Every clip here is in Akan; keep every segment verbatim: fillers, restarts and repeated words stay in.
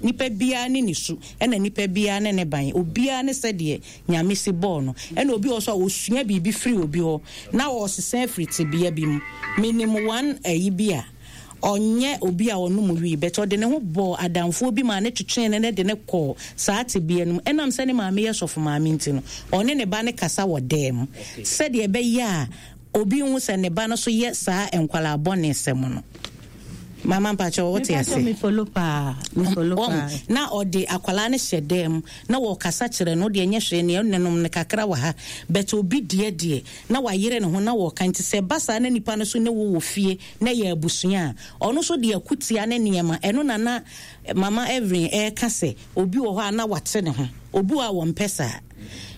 Nipa biara ne ne su, ɛna nipa biara ne ne ban, obiara ne sɛdeɛ Nyame si bɔɔ no. Ɛna obi wɔ so a osua biribi firi obi hɔ na ɔsesa afiri tebea bi mu. Menim one ayi bi a ɔnyɛ obi a ɔnom wii, but ɔde ne ho bɔɔ adamfoɔ bi ma ne twetwee ne ne de ne kɔɔ saa tebea no mu. Ɛnam sɛ ne maame yɛ sɔfo maame nti no, ɔne ne ba ne kasa wɔ dan mu sɛdeɛ ɛbɛyɛ a obi hu sɛ ne ba no so yɛ saa nkwalaa bɔne sɛm no. Mama, mpakyɛ, wote ase? Me follow paa, me follow Wɔn- paa. Na ɔde akwalaa no hyɛ dan mu na wɔkasa kyerɛ no deɛ, nyɛ hwee neɛ nenom no kakra wɔ ha, but obi deɛ deɛ na wayere ne ho na wɔka. Nti sɛ ɛba saa na nipa no so ne wo wɔ fie na yɛ abusua a, ɔno nso de akutia ne nneɛma ɛno na na Mama Evelyn ɛreka sɛ obi wɔ hɔ a na wate ne ho, obi wɔ a wɔmpɛ saa.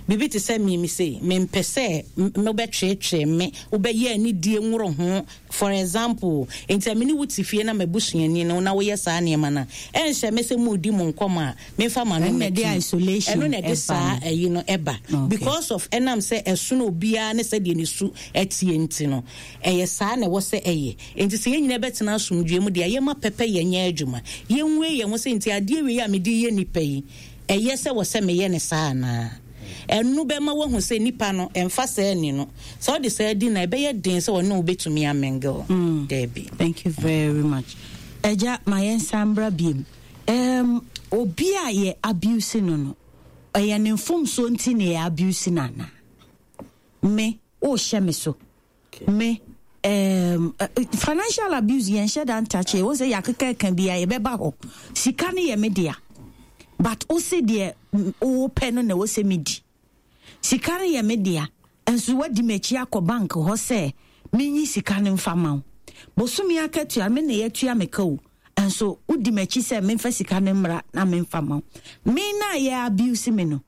Biribi te sɛ mimi sei, mempɛ sɛ m- mobɛtweetwee me, wobɛyɛ anidie nworo ho. For example, nti a mene wo te fie na mabusuani no na woyɛ saa nneɛma no a, ɛnhyɛ me sɛ mudi mo nkɔmmɔ a memfa ma no Ɛno na ɛde mmɛto mu. Isolation Ɛno na ɛde ɛba saa no. ɛyi no ɛba Okay. because of ɛnam sɛ ɛsono obiara ne sɛdeɛ ne su ɛteɛ nti no, ɛyɛ saa na ɛwɔ sɛ ɛyɛ. Nti sɛ yɛn nyinaa bɛtena asomdwoe mu deɛ, yɛma pɛpɛ yɛnyɛ adwuma, yɛnwie yɛn ho sɛ nti adeɛ wei a mede yɛ nipa yi, ɛyɛ sɛ wɔ sɛ meyɛ ne saa anaa? Ɛno bɛma woahu sɛ nipa no ɛmfa saa ni no. Sɛ wode saa di na ɛbɛyɛ den sɛ ɔne wo bɛtumi amingle. Daabi. Thank you very much. Ɛgya, ma yɛnsa mbra biem. um, obi a yɛ abuse no no ɛyɛ ne mfomsoɔ nti na yɛ abuse no anaa? Me wohyɛ me so me um, uh, financial abuse, yɛnhyɛ da ntakye wo sɛ yɛakeka ka bi a yɛbɛba hɔ. Sika no yɛ me dea, but wo se deɛ mm, wopɛ no na ɛwɔ sɛ medi. Sika no yɛ me dea, nso wadi m'akyi akɔ bank hɔ sɛ menyi sika no mfa ma wo. Bosome akatua me na yɛatua me ka o, nso wodi m'akyi sɛ memfa sika no mmra na memfa ma wo. Me na yɛ abuse me no,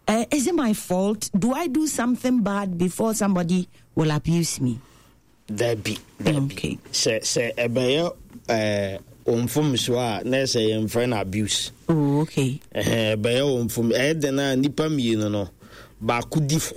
uh, is it my fault? Do I do something bad before somebody will abuse me? Dabi, dabi. Okay. sɛ sɛ ɛbɛyɛ ɛɛ mfomsoɔ a, na ɛsɛ yɛmfrɛ no abuse. Oh, okay. Ɛhɛn, ɛbɛyɛ wo mfom. Ɛyɛ den a nipa mmienu no baako di fo.